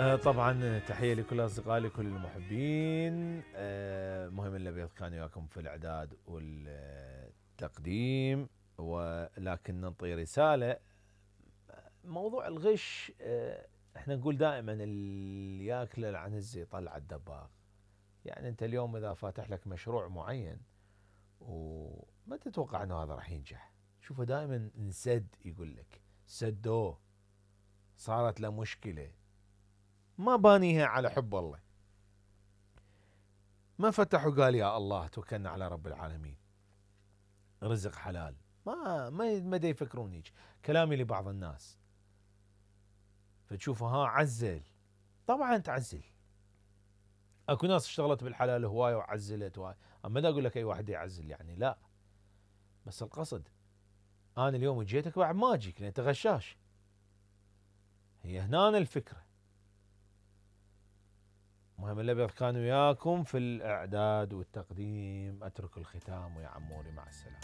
طبعا تحية لكل أصدقائي لكل المحبين. مهم الأبيض كان وياكم في الإعداد والتقديم، ولكن ننطي رسالة. موضوع الغش، احنا نقول دائما اللي ياكل العنز يطلع الدباغ. يعني انت اليوم اذا فاتح لك مشروع معين وما تتوقع انه هذا راح ينجح، شوفه دائما انسد، يقول لك سدوه، صارت له مشكلة، ما بانيها على حب الله، ما فتح وقال يا الله توكلنا على رب العالمين، رزق حلال، ما دا يفكرون هيك. كلامي لبعض الناس فتشوفه عزل، طبعا تعزل. اكو ناس اشتغلت بالحلال هوايه وعزلت هوايه، اما دا اقول لك اي واحد يعزل يعني لا، بس القصد انا اليوم جيتك بعد ما اجيك لان انت غشاش. هي هنا الفكره. مهم الابيض كان وياكم في الاعداد والتقديم، اترك الختام ويا عموري، مع السلامه.